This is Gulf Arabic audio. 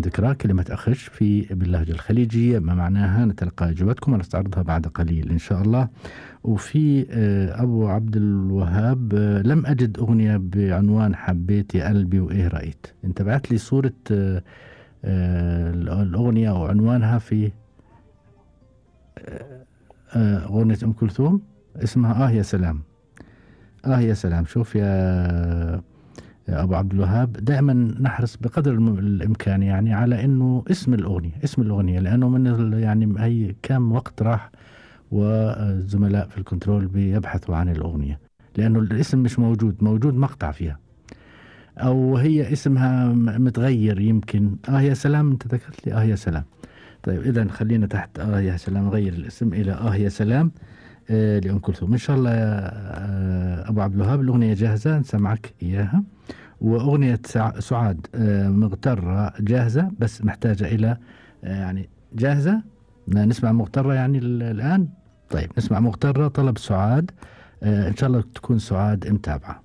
ذكرى كلمة أخش باللهجة الخليجية، ما معناها؟ نتلقى إجابتكم ونستعرضها بعد قليل إن شاء الله. وفي أبو عبد الوهاب، لم أجد أغنية بعنوان حبيت يا قلبي وإيه رأيت. أنت بعت لي صورة الأغنية أو عنوانها في أغنية أم كلثوم، اسمها يا سلام. يا سلام. شوف يا أبو عبد الوهاب، دائما نحرص بقدر الإمكان يعني على أنه اسم الأغنية لأنه من يعني هي كم وقت راح والزملاء في الكنترول بيبحثوا عن الأغنية، لأنه الاسم مش موجود مقطع فيها، أو هي اسمها متغير يمكن. يا سلام. أنت ذكرت لي يا سلام. طيب إذا خلينا تحت يا سلام نغير الاسم إلى يا سلام لأم كلثوم إن شاء الله. يا أبو عبد الوهاب الأغنية جاهزة نسمعك إياها، وأغنية سعاد مغترة جاهزة، بس محتاجة إلى يعني جاهزة نسمع مغترة يعني الآن. طيب نسمع مغترة، طلب سعاد. إن شاء الله تكون سعاد متابعة.